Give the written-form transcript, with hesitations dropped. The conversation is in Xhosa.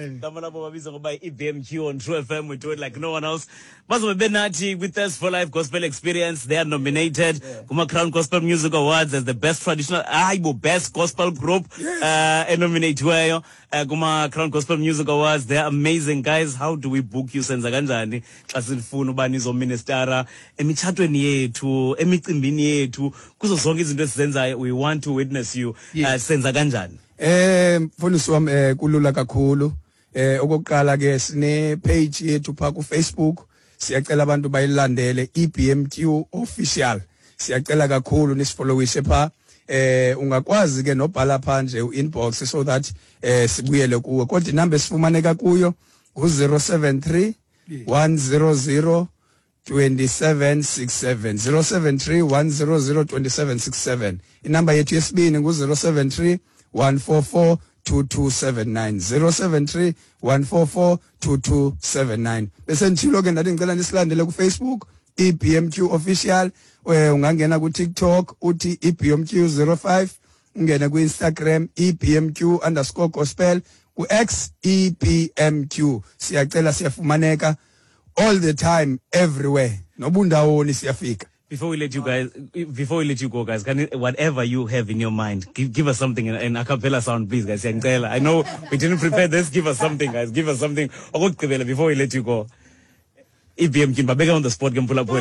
Gama labo babizwa ngoba i-BMQ on True FM. We do it like no one else. Bazobe benathi with Thirst for Life Gospel Experience. They are nominated kuma-Crown Gospel Music Awards as the best traditional, hayi bo, best gospel group enominatiweyo kuma-Crown Gospel Music Awards. They are amazing guys. How do we book you? Senza kanjani xa sifuna uba nizoministara emitshatweni yethu, emicimbini yethu, kuzo zonke izinto esizenzayo? We want to witness you. Senza kanjani? Mfundisi wami, kulula kakhulu. Okokuqala ke sine page yethu pha ku Facebook. Siyacela abantu bayilandele, EBMQ official. Siyacela kakhulu nisifollowishe pha. Ungakwazi ke nobhala pha nje u-inbox so that sibuyele kuwe. Kodwa inamba esifumaneka kuyo ngu-073 100 2767, 073 100 2767. Inamba yethu yesibini ngu-073 144 2279, 073 144 2279. Bese nditshilo ke, ndathi ndicela nisilandele kuFacebook, iBMQ official. Ungangena kuTikTok uthi iBMQ 05, ungene kuInstagram iBMQ_gospel, ku-X iBMQ. Siyacela, siyafumaneka all the time, everywhere, nobundawoni siyafika. Before we let you go, guys, can you, whatever you have in your mind, give us something in a cappella sound, please, guys. Siyangicela. I know we didn't prepare this. Give us something, guys. Give us something. Okokugqibela before we let you go. EBMQ, babeka on the spot, ke mphulaphuli.